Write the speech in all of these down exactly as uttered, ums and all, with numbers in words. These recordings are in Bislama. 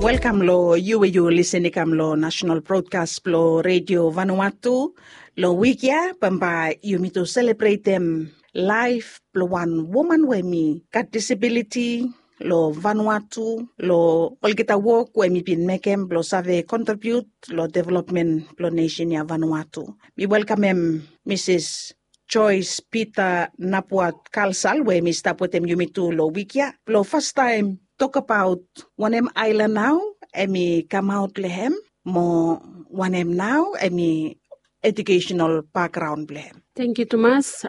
Welkam long yu we yu lisin i kam long nasenal brodkas blong Redio Vanuatu. Long wik ya bambae yumi tu selebretem laef blong wan woman we mi gat disabiliti long Vanuatu, long olgeta wok we mi bin mekem blong save kontribiut long developmen blong nesen ya Vanuatu. Mi welkamem Misis Joyce Peter Napuat Kalsal we mi stap wetem yumi tu long wik ya blong fastaem tokbaot wanem aelan nao em i kamaot long hem, mo wanem nao em i ejukesenal bakgraon blong hem. Tangkiu tumas.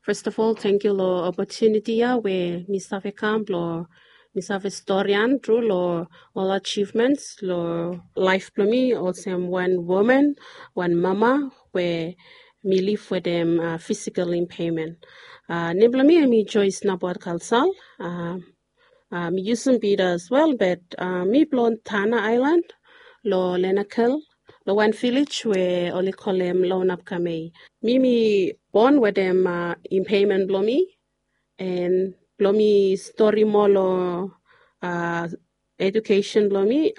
Fes of ol tangkiu long opotuniti ya we mi save kam blong mi save storian tru long ol ajivmens long laef blong mi olsem wan woman, wan mama we mi liv wetem fisikal impemen. Nem blong mi em i Joyce Napuat Kalsal. Mi yusum Peter as well, but mi blong Tanna Aelan long Lenakel, long wan vilej we oli kolem Lounapkamei. Mi mi bon wetem impemen blong mi, en blong mi stori moa long ejukesen blong mi,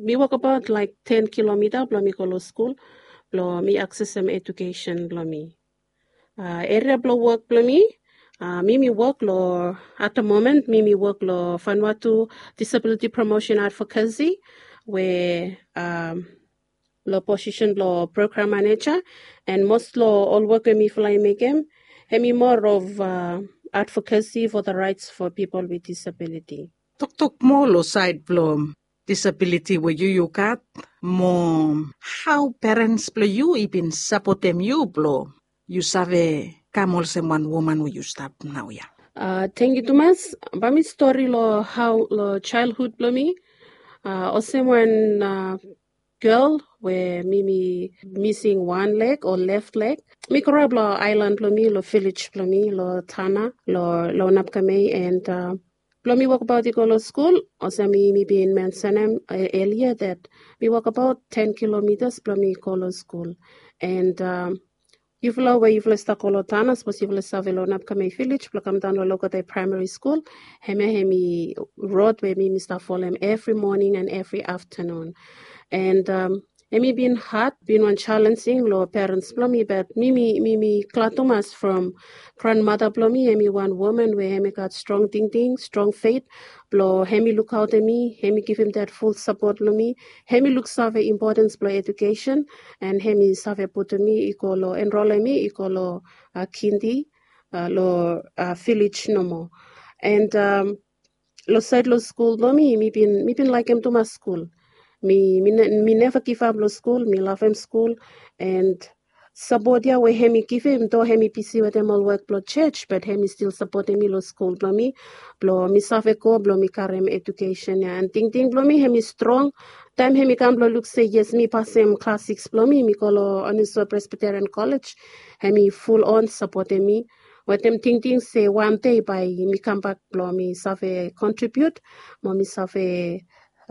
mi wokbaot laek ten kilomita blong mi go long skul blong mi aksesem ejukesen blong mi. Eria blong wok blong mi, mi mi wok long at da momen mi mi wok long Vanuatu Disabiliti Promosen Advokasi we long posisen blong program maneja, en mos long ol wok we mifala i mekem hem i moa of advokasi fo da raets fo pipol with disabiliti. Toktok moa long saed blong disabiliti we yu yu gat, mo hao perens blong yu i bin sapotem yu blong yu save kam olsem wan woman we yu stap naoia? Tangkiu tumas. Bae mi stori long hao long jaelhud blong mi. Olsem wan gel we mi mi mising wan leg o lef leg, mi groap long aelan blong mi, long vilej blong mi, long Tanna, long Lounapkamei, en blong mi wokbaot i go long skul. Olsem mi mi bin mensenem elia dat mi wokbaot ten kilomitas blong mi go long skul. En yufala we yufala i stap go long Tanna, sapos yufala i save long Lounapkamei vilej blong kamdaon long Logotai Praemari Skul, hemia hem i rod we mi mi stap folem evri moning en evri aftanun. En hem i bin had, bin wan jalenjing long perens blong mi, bat mi mi mi mi glad tumas from granmata blong mi, hem i wan woman we hem i gat strong tingting, strong fet blong hem i lukaotem mi, hem i givim dat ful sapot long mi. Hem i luksave impotens blong ejukesen, en hem i save putum mi i go long, enrolem mi i go long kindi long vilej nomo. En long saed long skul blong mi, mi bin mi bin laekem tumas skul. Mi mi neva givap long skul, mi lavem skul. En sapot ya we hem i givim, do hem i bisi wetem ol wok blong jos, bat hem i stil sapotem mi long skul blong mi, blong mi save go blong mi karem ejukesen ya. En tingting blong mi hem i strong taem hem i kam blong luk se yes, mi pasem klas sikis blong mi, mi go long Onisua Presbiterian Kolej, hem i fulon sapotem mi wetem tingting se wan dei bae mi kambak blong mi save kontribiut, mo mi save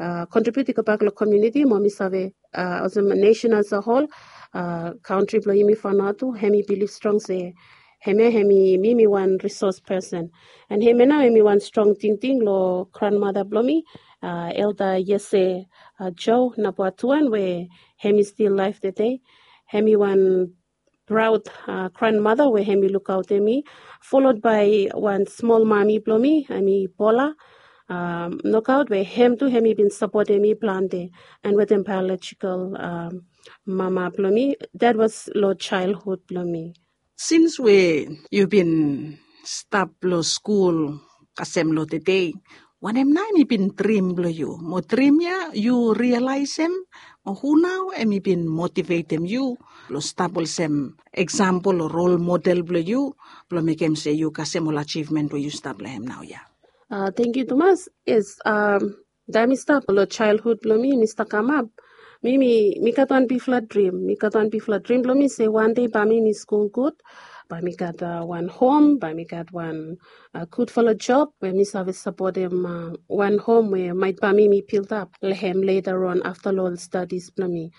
kontribiut i gobak long komuniti, mo mi save olsem nesen as a hol, kantri blong yumi Vanuatu hem i bilif strong se hemia hem i mi mi wan risos pesen. En hemia nao hem i wan strong tingting long granmata blong mi, Elda Yese Jo Napuatuan, we hem i stil laef tede. Hem i wan praod granmata we hem i lukaotem mi, folod bae wan smol mami blong mi, hem i Bola Nokaot, we hem tu hem i bin sapotem mi plante, en wetem baeolojikal mama blong mi. Dat was long jaelhud blong mi. Sins we yu bin stap long skul kasem long tede, wanem nao hem i bin drim blong yu? Mo drim ya yu rialaesem, mo hu nao hem i bin motivetem yu blong stap olsem eksampol o rol model blong yu, blong mekem se yu kasem ol ajivmen we yu stap long hem naoia? Tangkiu tumas. Yes, taem mi stap long jaelhud blong mi, mi stap kamap, mi mi mi gat wan bigfala drim. Mi gat wan bigfala drim blong mi se wan dei bae mi mi skul gud, bae mi gat wan hom, bae mi gat wan gudfala job we mi save sapotem wan hom we maet bae mi mi bildap long hem leta on afta long ol stadis blong mi.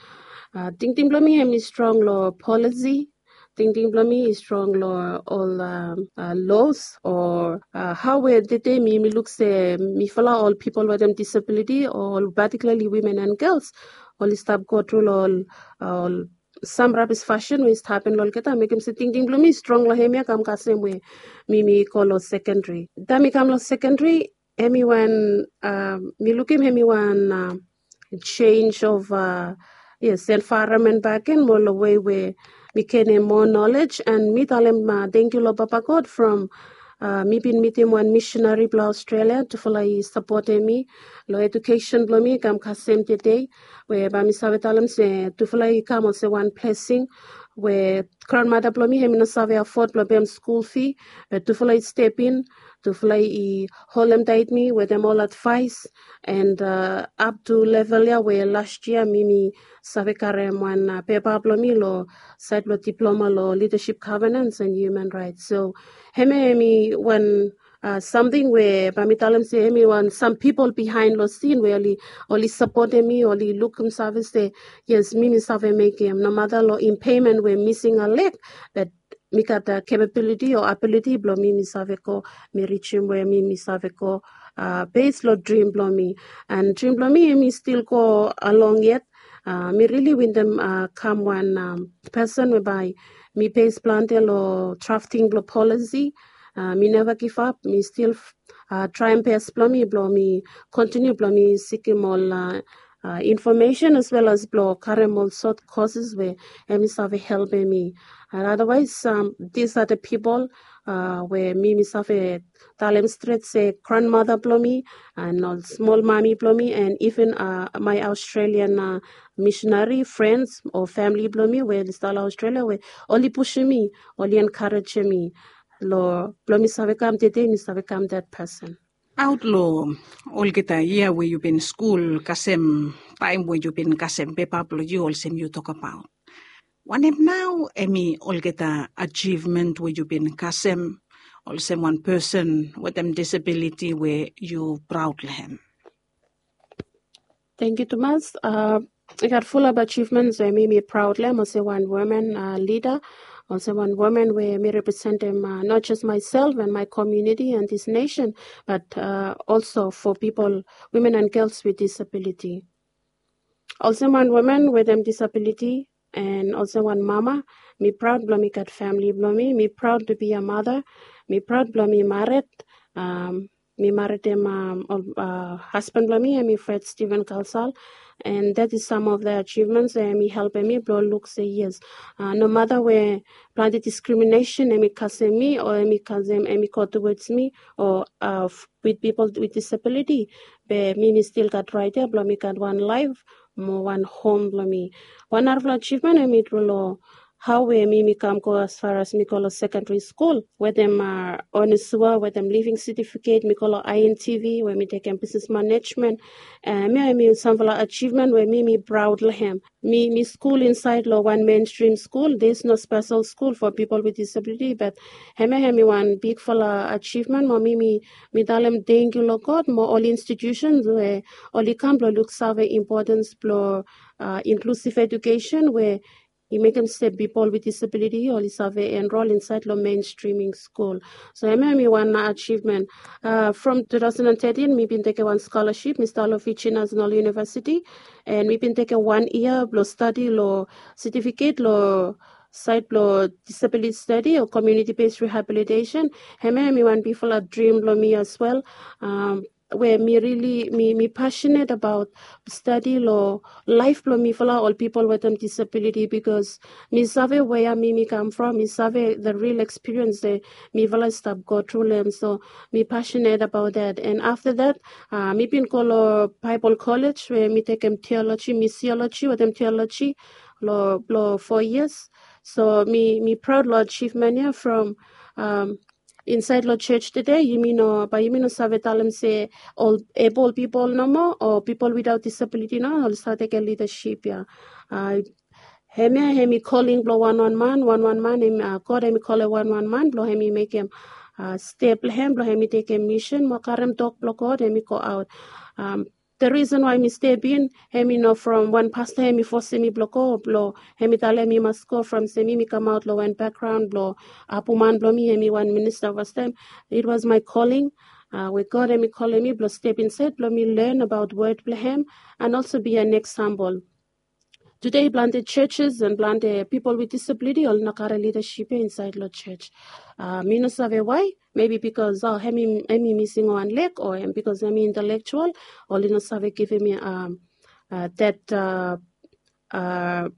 Tingting blong mi hem i strong long polisi, tingting blong mi i strong long ol los o hau we tete mi mi luk se mifala ol pipol wetem disabiliti o ol patikulali wimen and gels oli stap go tru long ol sam rabis fasin we i stap hapen long olgeta mekim se tingting blong mi i strong long hemia kam kasem we mi mi go long sekendri. Taem mi kam long sekendri, hemi wan mi lukim hemi wan change of yes envaeronmen baken mo long wei we mi genem moa nolej and mi talem tangkiu long papa god from mi bin mitim wan misinari blong australia tufala i sapotem mi long edukesen blong mi kam kasem tedei we bae mi save talem se tufala i kam olsem wan blesing we granmada blong mi hemi no save afod blong pem skul fi be tufala i step in tufala i holem tait mi wetem ol advaes and ap tu level ya we las yia mi mi save karem wan pepa blong mi long saed blong diploma long lidasip gavenans and human raets so hemia hemi wan samting we bae mi talem se hemi wan sam pipol bihaen long sin we oli sapotem mi oli lukim save se yes mi mi save mekem nomata long impemen we mising a leg bat mi gat kapabiliti o abiliti blong mi mi save go mi rijim we mi mi save go bes long drim blong mi and drim blong mi mi stil go along yet mi rili wintem kam wan pesen we bae mi bes plante long drafting blong polisi mi neva givap mi stil traem bes blong mi blong mi kontiniu blong mi sikim ol infomesen as wel as blong karem ol sot koses we em i save helpem mi and otherwise dis are the pipol we mi mi save talem stret se granmata blong mi and ol smol mami blong mi and even mai australian misinari frens o famili blong mi we oli stap long australia we oli pusim mi oli enkarejem mi long blong mi save kam tede mi save kam dat pesen. Aot long olgeta yia we yu bin skul kasem taem we yu bin kasem pepa blong yu olsem yu tokabaot wanem nao em i olgeta ajivmen we yu bin kasem olsem wan pesen wetem disabiliti we yu praod long hem? Thank you tumas. I gat fulap ajivments we mi mi praod long em olsem wan women lida olsem wan women we mi representim not just myself and my community and this nation but also for people women and girls with disability. Olsem wan women wetem disabiliti and olsem wan mama mi praod blong mi gat famili blong mi mi praod tu bi a mata mi praod blong mi maret mi maritim hasban blong mi em i fred steven kalsal and that is some of the achievements we em i helpim mi blong luk se yes nomata we plante diskriminesen em i kasem mi o em i kasem em i go towards mi o with people with disability be mi mi stil gat rait ya blong mi gat wan laef mo wan hom blong mi wan narafala ajivmen em i tru long hau we mi mi kam go asfar as mi go long sekendari skul wetem onesua wetem living setifiket mi go long intv we mi tekem bisnes manejmen em ya em i samfala ajivmen we mi mi praod long hem mi mi skul insaed long wan menstrim skul dis no spesel skul fo pipol with disabiliti bat hem ya hem i wan bigfala ajivmen mo mi mi mi talem tengkiu long god mo ol institusens we oli kam blong luksave impotens blong inklusiv edukesen we i mekem se pipol with disabiliti oli save enrol insaed long menstriming skul. So em ya em i wan ajivmen from two thousand and thirteen mi bin tekem wan skolaship mi stap long fiji national university and mi bin tekem wan yia blong stadi long setifiket long saed blong disabiliti stadi o komiuniti bes rehabilitesen. Em ya em i wan bigfala drim blong mi as wel we mi rili mi mi pasinet abaot stadi long laef blong mifala ol pipol wetem disabiliti bikos mi save wea mi mi kam from mi save the real ekspiriens we mifala i stap go tru long em so mi pasinet abaot dat and afta dat mi bin go long baibol kolej we mi tekem tioloji misioloji wetem tioloji long blong fo yias. So mi mi praod long ajivmen ya from insaed long jos tede yumi no bae yumi no save talem se ol ebol pipol nomo o pipol widaot disabiliti no oli save tekem lidasip ya. Hemia hemi koling blong wanwan man wanwan man god hemi kolem wanwan man blong hemi mekem step long hem blong hemi tekem misin mo karem tok blong god hemi go aot. the reason why mi step in, hemi no from wan pasta hemi fosem mi blong go, blong hemi talem mi mas go from se mi mi kamaot long wan background blong apuman blong mi hemi wan minista fastem. It was my calling, uh, we God hemi kolem mi blong step insait blong mi learn about word blong hem and also be an example. Today planti churches and planti people with disability ol no kare leadership ya insait long church. Uh, mi no save why, maybe because oh, hemi hemi missing wan leg or em because hemi intellectual, ol i no save givim mi um, uh, that uh, uh,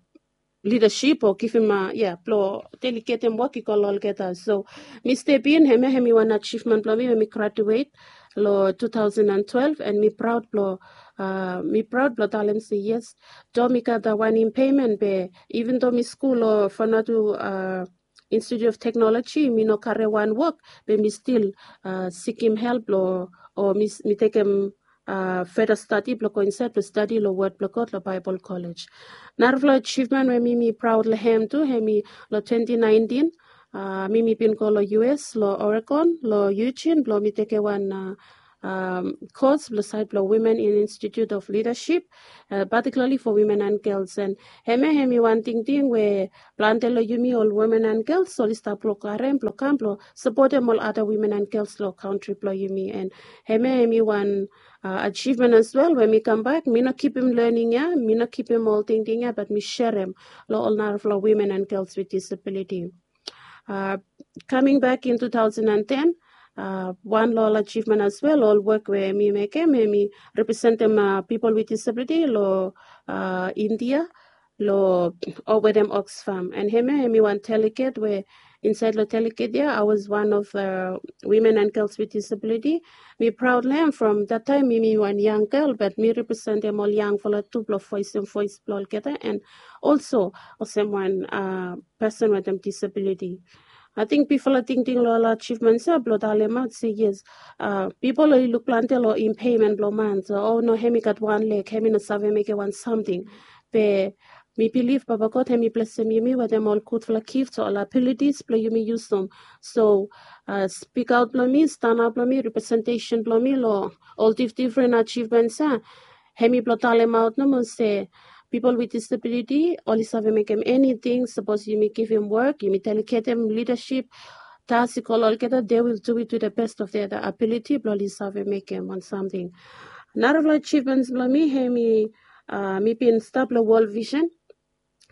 leadership o givim uh, yeah, blong delegatem wok i go long olgeta. So mi step in, hemia hemi wan achievement blong mi when mi graduate long two thousand and twelve, and mi proud blong uh, mi proud blong talem se yes, do mi gat da wan impairment be even though mi skul long Vanuatu uh, Institute of Technology, mi no kare wan wok, be mi stil uh, sikim help long o mi, mi tekem uh, further study blong go insait blong study long word blong God long Bible College. Narafala achievement we mi mi proud long hem tu, hemi long twenty nineteen, uh, mi mi bin go long U S long Oregon long Eugene blong mi tekem wan uh, um, course blong sait blong Women in Institute of Leadership, uh, particularly for women and girls. And hemia hemi wan tingting we planti long yumi ol women and girls ol i stap blong karem blong kam blong sapotem ol other women and girls long kantri blong yumi. And hemia hemi wan uh, achievement as well. When mi kambak, mi no kipim learning ya, mi no kipim ol tingting ya, but mi serem long ol narafala women and girls with disability. Uh, coming back in two thousand and ten, uh, wan long ol achievement as well, ol wok we mi mekem, hemi representem uh, people with disability long uh, India, long o wetem Oxfam. And hemia hemi wan delegate we insait long delegate ya, I was one of uh, women and girls with disability. Mi proud long hem from that time mi mi wan young girl, but mi representem ol yangfala tu blong voesem voes blong olgeta, and also olsem wan uh, person wetem disability. I think bifala tingting long ol achievements ya blong talemaot se yes, uh, pipol oli luk planti long impairment blong man, so oh no, hemi gat wan leg, hemi no save mekem wan samting. Be mi bilif Papa God hemi blesem yumi wetem ol gudfala gifts o ol abilities blong yumi yusum. So uh, spikaot blong mi, stanap blong mi, representation blong mi long ol dif different achievements ya, hemi blong talemaot nomo se people with disability oli save mekem anything. Sapos yumi givim wok, yumi delegatem leadership task i go long olgeta, they will do it to the best of their ability blong oli save mekem wan samting. Narafala achievements blong mi hemi uh, mi bin stap long World Vision.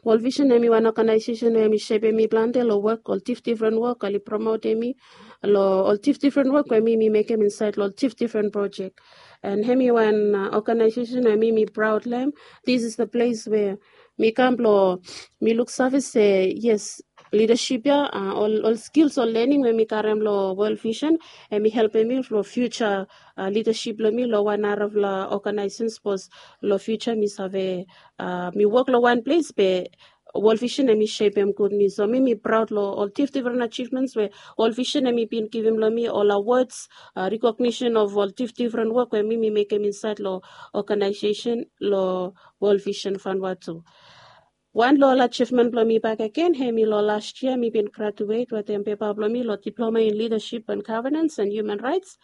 World Vision hemi wan organization we hemi shepem mi planti long wok, ol dif different wok oli promotem mi long ol dif different wok we mi mi mekem insait long ol dif different project. And hemi wan uh, organization we mi mi proud long hem. This is the place where mi kam blong mi luksave se yes, leadership ya, uh, ol ol skills, ol learning we mi karem long World Vision, hemi helpem mi long future uh, leadership blong mi long wan narafala organization, sapos long future mi save uh, mi wok long wan ples be World Vision hemi shepem gud mi. So mi mi proud long ol dif different achievements we World Vision hemi bin givim long mi, ol awards, uh, recognition of ol dif different wok we mi mi mekem insait long organization long World Vision Vanuatu. Wan long ol achievement blong mi bakegen hemi long last year mi bin graduate wetem pepa blong mi long Diploma in Leadership and Governance and Human Rights.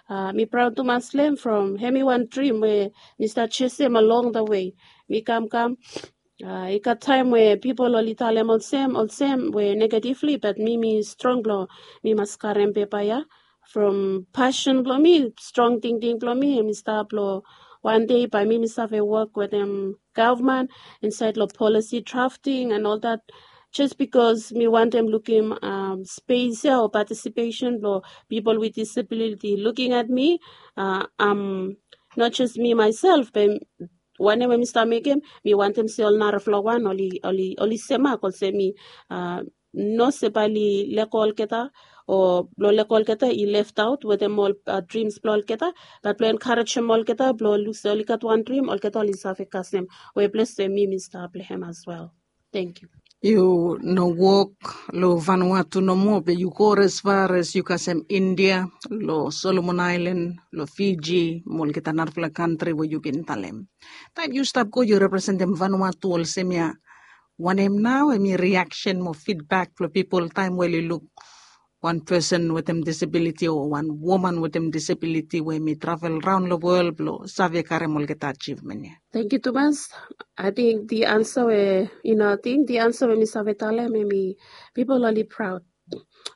Uh, mi proud tumas long hem from hemi wan dream we mi stap chasem along the way. Mi kam kam uh, i gat taem we pipol oli talem olsem olsem we negatively, but mi mi strong blong mi mas karem pepa ya. From passion blong mi, strong tingting blong mi, hemi stap long wan dei bae mi mi save wok wetem gavman insait long policy drafting and ol dat. Just bikos mi wantem lukim um, space ya o participation blong pipol with disability looking at me, uh, um, not just me myself, be wanem we mi stap mekem, mi wantem se ol narafala wan oli oli oli semak olsem mi, uh, no se bae oli lego olgeta o blong lego olgeta i left out wetem ol uh, dreams blong olgeta, bat blong encouragem olgeta blong luk se oli gat wan dream, olgeta oli save kasem we ples we mi mi stap long hem as well. Thank you. Yu no wok long Vanuatu nomo, be yu go as far as yu kasem India, long Solomon Island, long Fiji, mo olgeta narafala kantri we yu bin talem. Taem yu stap go yu representem Vanuatu olsem ya, wanem nao hemi reaction mo feedback blong pipol taem we oli luk wan pesen wetem disabiliti o wan woman wetem disabiliti we mi travel raon long wol blong save karem olgeta achivmen ya? Thank you tumas. I think the answer we you know I think the answer we mi save talem em i people oli proud.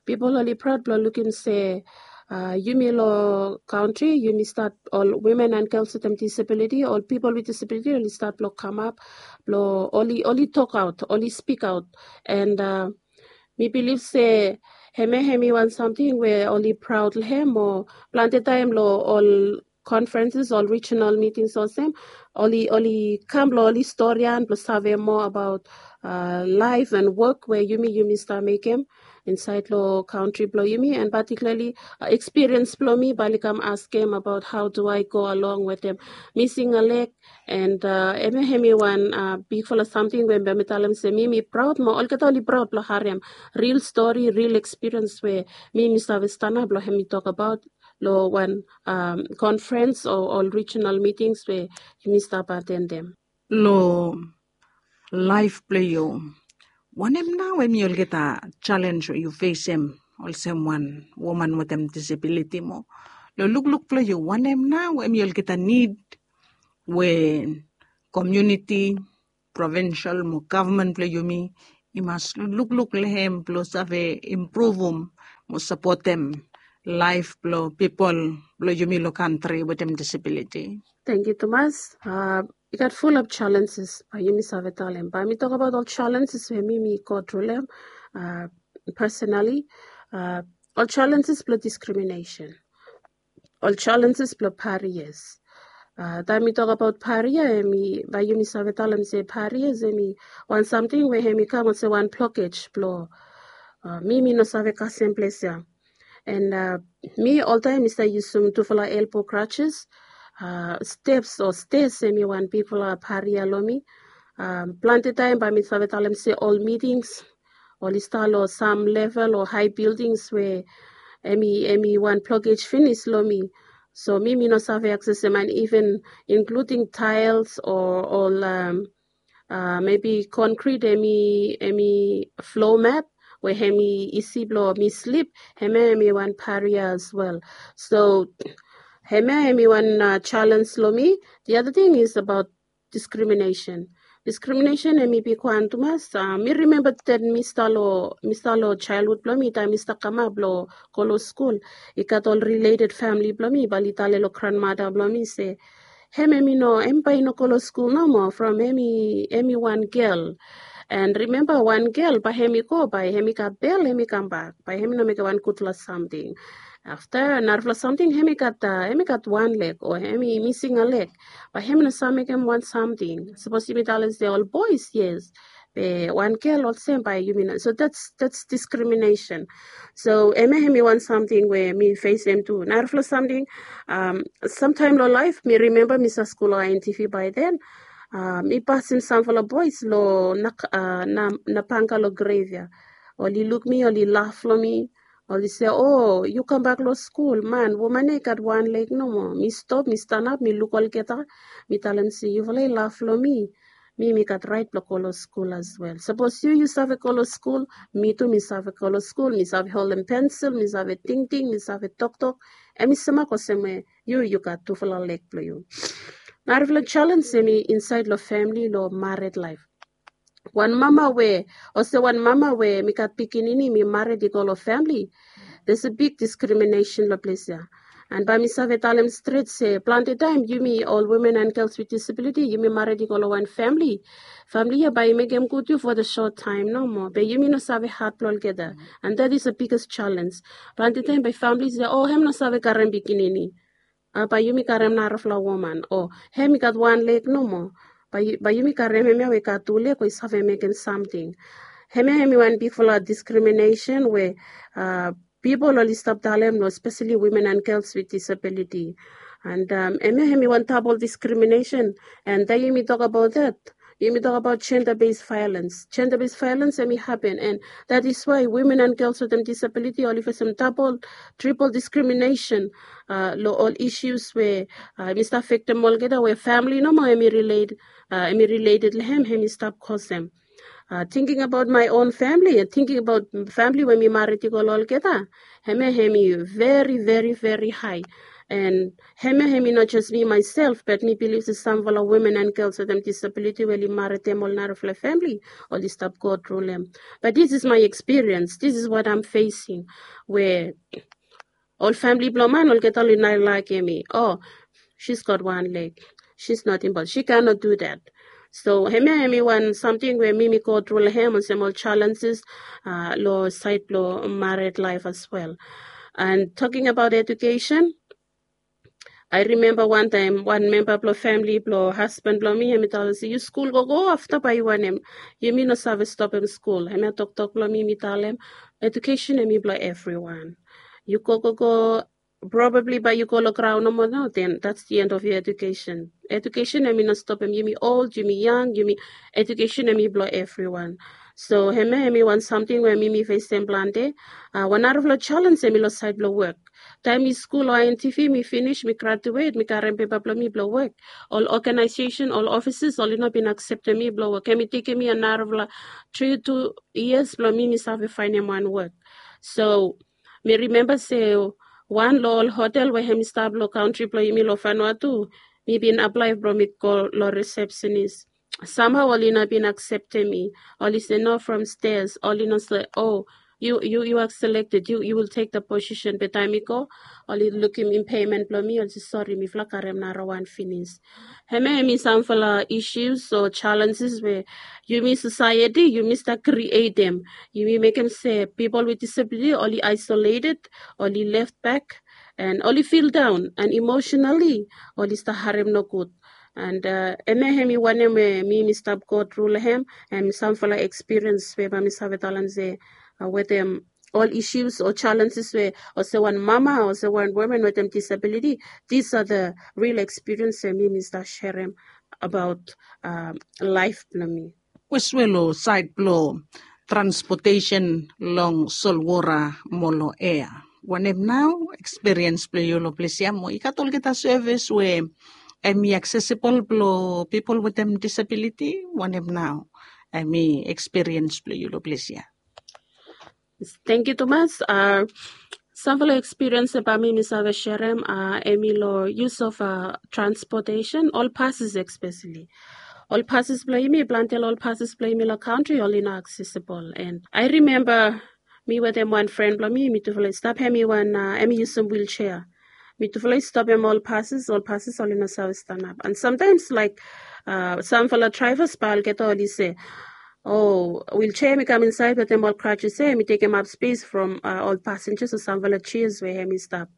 People oli proud blong lukim se uh, yumi lo country yumi start all women and girls with disability, all people with disability oli start blong come up blong oli oli talk out, oli speak out. And uh, mi believe se heme hemi wan something we oli proud lo hem o planti time lo all conferences, all regional meetings olsem oli oli kam blong oli storian blong save more about uh, life and work we yumi yumi start mekem inside lo country blong yumi and particularly uh, experience blong mi bali kam askem about how do I go along with them missing a leg. And uh, eme hemi wan uh, bigfala something we bemi talem se mi mi proud mo olgeta oli proud blong harem real story, real experience we mi mi save stanap blong hemi talk about lo wan um, conference o ol regional meetings we yumi stap aten dem. Lo laif blong yu, wanem nao em i olgeta challenge we yu fesem olsem wan woman wetem disabiliti mo lo lukluk blong yu, wanem nao em i olgeta nid we komuniti, provinsel mo gavman blong yumi i mas lukluk long hem blong save impruvum mo sapotem laif blong pipol blong yumi long kantri wetem disabiliti? Thank you tumas. Uh, i gat full of challenges bae yumi save talem bae mi tok abaot ol challenges we mi mi go tru long hem uh, personally. Uh, ol challenges blong discrimination, ol challenges blong barriers. Uh, taem mi tok abaot barrier em i bae yumi save talem se barriers em i wan samting we em i kam olsem wan blockage blong uh, mi mi no save kasem ples ya. And uh, mi oltaem mi stap yusum tufala elbow crutches, uh, steps o stairs em i wan bigfala barrier long mi. Um, planti taem bae mi save talem se ol meetings oli stap long sam level o high buildings we em i em i wan blockage finis long mi. So mi mi no save accessem and even including tiles o ol um, uh, maybe concrete em i em i floor mat we em i isi blong mi sleep, hemia em i wan barrier as well. So hemia em i wan uh, challenge long mi. The other thing is about discrimination. Discrimination em i bigwan tumas. Uh, mi rimemba that mi stap long mi stap long childhood blong mi taem mi stap kamap blong go long skul, i gat ol related famili blong mi bae oli talem long grandmother blong mi se, hem em i no, hem bae i no go long skul nomo from hem i hem i wan gel. And rimemba wan gel bae hem i go bae hem i gat bel hem i kambak, bae hem i no mekem wan gudfala samting. Afta narafala samting hem i gat uh, hem i gat wan leg o hem i mising a leg, bae hem i no save mekem wan samting. Sapos yumi talem se ol bois, yes, be wan gel olsem bae yumi no. So that's that's discrimination. So hemia hem i wan samting we mi fesem tu. Narafala samting, um, samtaem long laef mi rimemba mi stap skul long I N T V bae then. Uh, mi pasim samfala bois long na, uh, na, na panga long grave ya. Oli luk mi, oli laf long mi, oli se, o, yu kambak long skul man, woman ya i gat wan leg nomo. Mi stop, mi stanap, mi luk olgeta, mi talem se yufala i laf long mi. Mi mi gat raet blong go long skul as well. Sapos yu yu save go long skul, mi tu mi save go long skul, mi save holem pensil, mi save tingting, mi save toktok. Em i semak olsem we yu yu gat tufala leg blong yu. Narafala challenge em i insaed long famili long mared laef. Wan mama we, olsem wan mama we mi gat pikinini mi mared i go long famili, there's a big discrimination long ples ya. And bae mi save talem stret se planti taem yumi ol women and girls with disability yumi mared i go long wan famili. Famili ya bae i mekem gud yu for the short time nomo, be yumi no save hat blong olgeta. And that is the biggest challenge. Planti taem bae famili se, o, hem no save karem pikinini. Uh, bae yumi karem narafala woman o hem i gat wan leg nomo. Bae yumi karem hemia we i gat tu leg we i save mekem samting. Hemia hem i wan bigfala discrimination we uh, pipol oli stap talem long especially women and girls with disability. And um, hemia hem i wan double discrimination. And taem yumi tok abaot that, yumi tok abaot gender based violence. Gender based violence em i hapen and that is why women and girls with disability oli fesem double, triple discrimination uh, long ol issues we uh, em i stap afektem olgeta we famili nomo em i relate, uh, em i related long hem, em i stap kosem. uh, thinking about my own family and thinking about family we mi marit i go long olgeta, hemia hemi very very very high. And hemia hemi not just me myself, but mi bilif se samfala women and girls wetem disability we oli marit hem ol narafala family, oli stap go through them. But this is my experience, this is what I'm facing, where ol family blong man olgeta oli nai laekem mi. Oh, she's got one leg, she's not able, she cannot do that. So hemia hemi wan samting we mi mi go through long hem olsem ol challenges, uh, long side blong married life as well. And talking about education, I remember one time one member blong family blong husband blong mi hemi talem se, yu skul gogo afta bae yu wanem, yumi no save stopem skul. Hemia toktok blong mi, mi talem, education hemi blong everyone. Yu go go go, probably bae yu go long graon nomo nao, then that's the end of your education. Education hemi no stopem, yumi old, yumi young, yumi, education hemi blong everyone. So hemia hemi wan samting we mi mi fesem plante. Uh, wan narafala challenge hemi long side blong work. Taem mi skul long I N T V, mi finis, mi graduate, mi karem pepa blong mi blong work, ol organization, ol offices oli no bin akseptem mi blong work. Hemi tekem mi narafala three two years blong mi mi save faenem wan work. So mi rimemba se wan long ol hotel we hemi stap long kantri blong yumi long Vanuatu, mi bin aplae blong mi go long receptionist. Samhao oli no bin akseptem mi. Oli se no from stairs. Oli no se, oh, you you you are selected, you you will take the position. Be taem mi go, oli lukim impairment blong mi, oli se, sorry, mifala karem narawan finis. Hemia hemi samfala issues o challenges we yumi society yumi stap createm. Yumi mekem se people with disability oli isolated, oli left back, and oli feel down, and emotionally oli stap harem nogud. And uh, hemia hemi wanem we mi mi stap go through long hem, and samfala experience we bae mi save talem se, uh, wetem ol issues o challenges we olsem wan mama, olsem wan woman wetem disability, these are the real experience we mi mi stap sharem about, um, life blong mi. Kwes we long side blong transportation long solwora mo long air, wanem nao experience blong yu long ples ia? Mo i gat olgeta service we hemi accessible blong people wetem disability, wanem nao hemi experience blong yu long ples ia? Thank you tumas. Uh, samfala experience bae mi mi save sharem, uh, hemi long use of, uh, transportation, ol passes especially. Ol passes blong yumi, plante long ol passes blong yumi long kantri oli no accessible. And I remember mi wetem wan friend blong mi, mitufala i stap, hemi wan, uh, hemi yusum wheelchair. Mitufala i stopem ol passes, ol passes oli no save stanap. And sometimes like, uh, samfala drivers bae olgeta oli se, oh, wheelchair hemi kam insaed wetem ol crutches ia, hemi tekemap space from, uh, ol passengers o samfala chairs we hemi stap.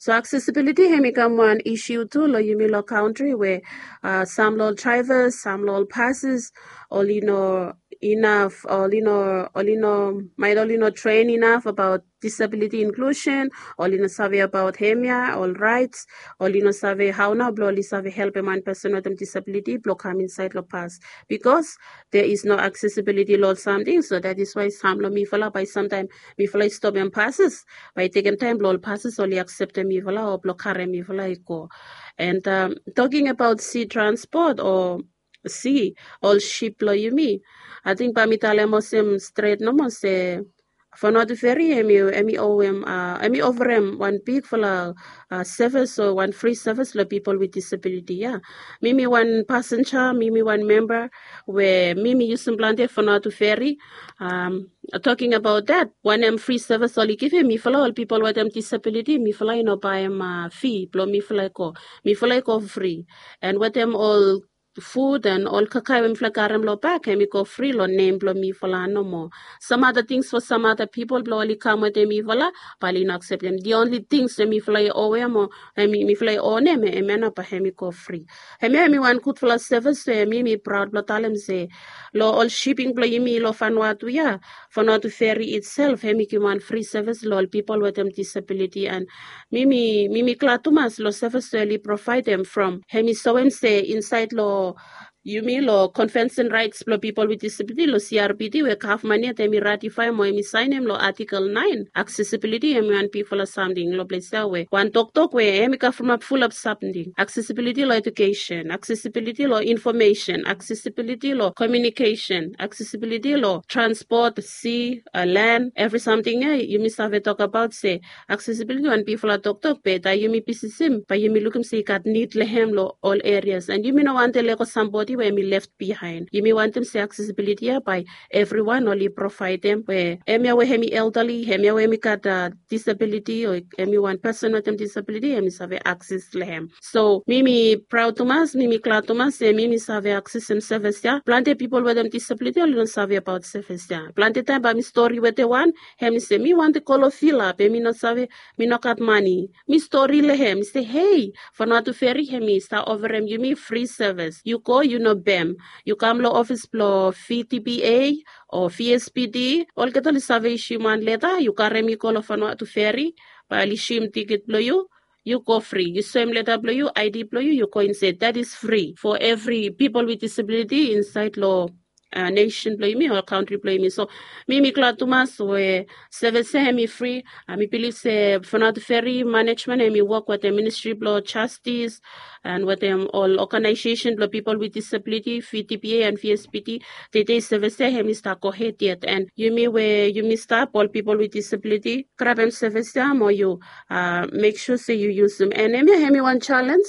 So accessibility hemi kam wan issue tu long yumi long kantri we, uh, sam long ol drivers, sam long ol passes oli no inaf, oli no, oli no, maet oli no train inaf abaot disability inclusion, oli no save abaot hemia ol rights, oli no save hao nao blong oli save helpem wan pesen wetem disability blong kam insaed long pas, because there is no accessibility long ol samting. So that is why sam long mifala bae samtaem mifala i stopem passes, bae i tekem taem blong ol passes oli akseptem mifala o blong karem mifala i go. And, um, talking about sea transport o sea, ol sip blong yumi, ating bae mi talem olsem stret nomo se Vanuatu Ferry hemi, hemi owem, uh, hemi oferem wan bigfala, uh, service o wan free service long people with disability ia. Mi mi wan passenger, mi mi wan member we mi mi yusum plante Vanuatu Ferry. Um, talking about that, wanem free service oli givim mifala ol people wetem disability, mifala i no baem, uh, fee blong mifala i go. Mifala i go free. And wetem ol food and ol kakae we mifala i karem long bak, hemi go free long nem blong mifala nomo. Some other things for some other people blong oli kam wetem mifala, bae oli no akseptem. The only things we mifala i owem o, hemi, mifala i onem, hemia nao bae hemi go free. Hemia hemi wan gudfala service we mi mi proud blong talem se long ol shipping blong yumi long Vanuatu ia, Vanuatu Ferry itself hemi givim wan free service long ol people wetem disability. And mi mi, mi mi glad tumas long service we oli provaedem from hemi soem se insaed long yumi long Convention Rights blong Pipol with Disability long C R P D we gavman yet hemi ratifaem o hemi saenem long Artikel naen. Aksesibiliti hemi wan bigfala samting long ples ya we wan toktok we hemi kavrimap fulap samting. Aksesibiliti long edukesen, aksesibiliti long infomesen, aksesibiliti long komiunikesen, aksesibiliti long transpot, si, len, evri samting ya yumi save tokabaot se aksesibiliti wan bigfala toktok be taem yumi bisisim bae yumi lukim se i gat nid long hem long ol erias, and yumi no wantem lego sambodi we hemi lef bihaen. Yumi wantem se aksesibiliti ya bae evriwan oli provaedem we hemia we hemi elderly, hemia we hemi gat disabiliti o hemi wan pesen wetem disabiliti hemi save akses long hem. So mi mi praod tumas, mi mi glad tumas se mi mi save aksesem sevis ya. Plante pipol wetem disabiliti oli no save abaot sevis ya. Plante taem bae mi stori wetem wan, hemi se mi wantem go long vila be mi no save, mi no gat mane. Mi stori long hem, mi se, hei, Vanuatu Ferry hemi stap oferem yumi fri sevis. Yu go, yu no pem. Yu kam long ofis blong V T P A o V S P D, olgeta oli save isium wan leta, yu karem i go long Vanuatu Ferry, bae oli isium tiket blong yu. Yu go fri, yu soem leta blong yu, I D blong yu, yu go insaed. That is free for evri pipol with disabiliti insaed long nesen blong yumi o kantri blong yumi. So mi mi glad tumas we sevis ya hemi fri. Mi bilif se Vanuatu Ferry manejmen hemi wok wetem Ministri blong Jastis and wetem ol oganaesesen blong pipol with disabiliti, V T P A and V S P D. Tede sevis ya hemi stap gohed yet, and yumi we yumi stap ol pipol with disabiliti, grabem sevis ya mo yu mek sua se yu yusum. And hemia hemi wan jalenj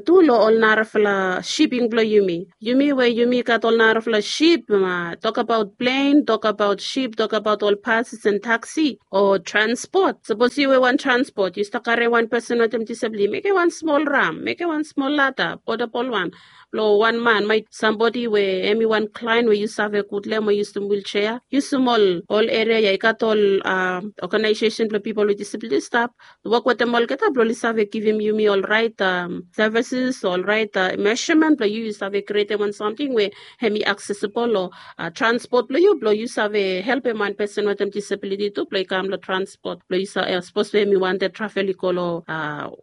tu long ol narafala siping blong yumi. Yumi we yumi gat ol narafala sip, tokabaot plen, tokabaot sip, tokabaot ol bases and taksi o transpot. Sapos yu we wan transpot, yu stap karem wan pesen wetem disabiliti, mekem wan smol ram, mekem wan smol lada, potebol wan, blong wan man, maet sambodi we hemi wan klaen we yu save gud long hem o yusum wilsea. Yusum ol ol eria ya i gat ol oganaesesen blong pipol with disabiliti stap wok wetem olgeta blong oli save givim yumi ol raet sevises, ol raet mesamen blong yu, yu save krietem wan samting we hemi aksesibol long transpot blong yu, blong yu save helpem wan pesen wetem disabiliti tu blong i kam long transpot blong yu sa, sapos we hemi wantem travel i go long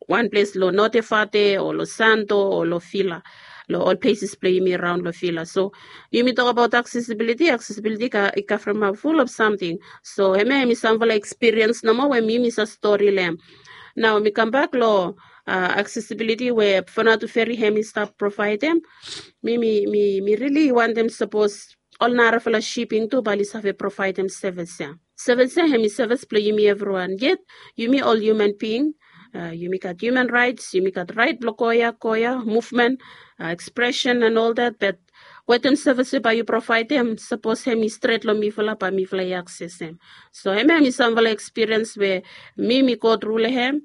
wan ples long Notevate o long Santo o long Vila, long ol pleses blong yumi raon long Vila. So yumi tokabaot aksesibiliti, aksesibiliti i kavrimap fulap samting. So hemia hemi samfala ekspiriens nomo we mi mi save stori long hem. Nao mi kambak long aksesibiliti we Vanuatu Ferry hemi stap provaedem. Mi mi mi mi rili wantem sapos ol narafala siping tu bae oli save provaedem sevis ya. Sevis ya hemi sevis blong yumi evriwan. Yet yumi ol hiuman bing, yumi gat hiuman raets, yumi gat raet blong go ya go ya, muvmen, ekspresen and ol dat, bat wetem sevis we bae yu provaedem, sapos hemi stret long mifala bae mifala i aksesem. So hemia hemi samfala ekspiriens we mi mi go tru long hem,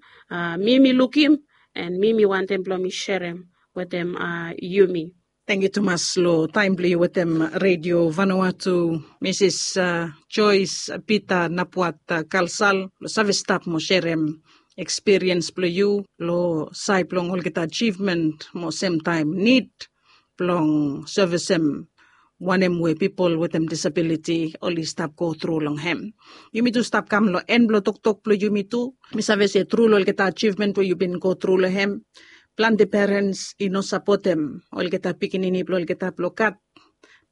mi mi lukim, and mi mi wantem blong mi serem wetem yumi. Tangkiu tumas long taem blong yu wetem Redio Vanuatu, Misis Joyce Peter Napuat Kalsal, long save stap mo serem ekspiriens blong yu long saed blong olgeta ajivmen mo semtaem nid blong sevisem wanem we pipol wetem disabiliti oli stap go tru long hem. Yumi tu stap kam long en blong toktok blong yumi tu. Mi save se tru long olgeta ajivmen we yu bin go tru long hem, plante perens i no sapotem olgeta pikinini blong olgeta blong gat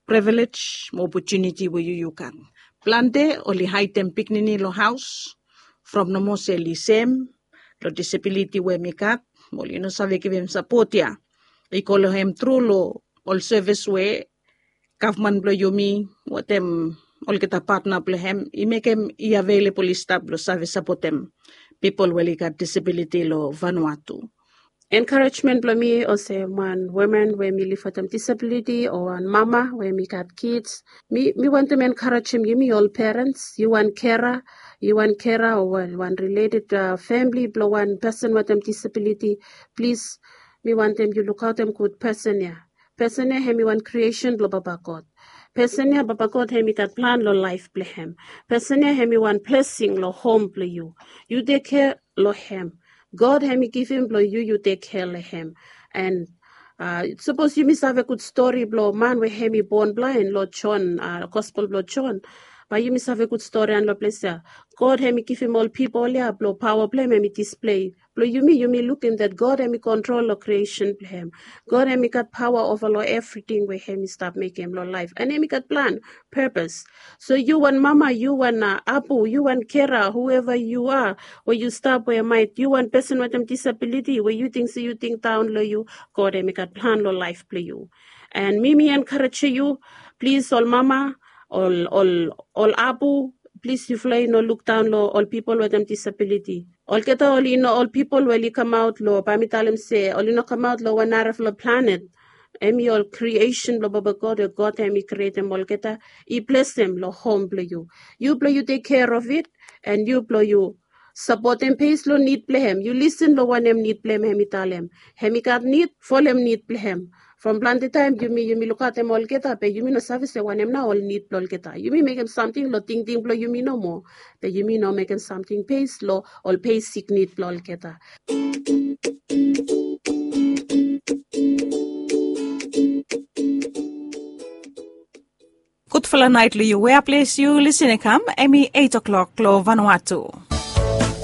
privilej mo opotuniti we yu yu gat. Plante oli haedem pikinini long haos from nomo se oli sem long disabiliti we hemi gat, mo oli no save givim sapot ya i go long hem tru long ol sevis we gavman blong yumi wetem olgeta patna blong hem i mekem i avelebol i stap blong save sapotem pipol we oli gat disabiliti long Vanuatu. Enkarejmen blong mi olsem wan woman we mi liv wetem disabiliti o wan mama we mi gat kids, mi mi wantem enkarejem yumi ol perens, yu wan kera, yu wan kera o wan rileted famili blong wan pesen wetem disabiliti, plis, mi wantem yu lukaotem gud pesen ya. Pesen ya hemi wan kriesen blong Papa God. Pesen ya Papa God hemi gat plan long laef blong hem. Pesen ya hemi wan blesing long hom blong yu. Yu tekkea long hem. God hemi givim blong yu yu tekkea long hem. And sapos yumi save gud stori blong man we hemi bon blaen long Jon, Gospel blong Jon, Bae yumi save gud storian long ples ya. God hem i givim ol pipol ya blong paoa blong hem hem i displei blong yumi, yumi lukim dat God hem i kontrol long kriesen blong hem. God hem i gat paoa ova long evriting we hem i stap mekem long laef, an hem i gat plan, purpose. So yu wan mama, yu wan abu, yu wan kera, hueva yu a, we yu stap we mait, yu wan pesen wetem disabiliti we yu ting se yu ting daon long yu, God hem i gat plan long laef blong yu. An mi mi enkarejem yu, plis ol mama, ol ol ol abu, plis yufala i no lukdaon long ol pipol wetem disabiliti. Olgeta oli no ol pipol we oli kamaot long, bae mi talem se oli no kamaot long wan narafala planet. Hem i ol kriesen blong baba God we God hem i krietem olgeta, i blesem long hom blong yu. Yu blong yu tek kea of it, an yu blong yu sapotem bes long nid blong hem. Yu lisin long wanem nid blong hem hem i talem. Hem i gat nid, folem nid blong hem. From plante taem yumi yumi lukaotem olgeta be yumi no save se wanem nao ol nid blong olgeta. Yumi mekem samting long tingting blong yumi nomo, be yumi no mekem samting bes long ol besik nid blong olgeta. Gudfala nait long yu wea ples yu lisin i kam, em i eit o'klok long Vanuatu.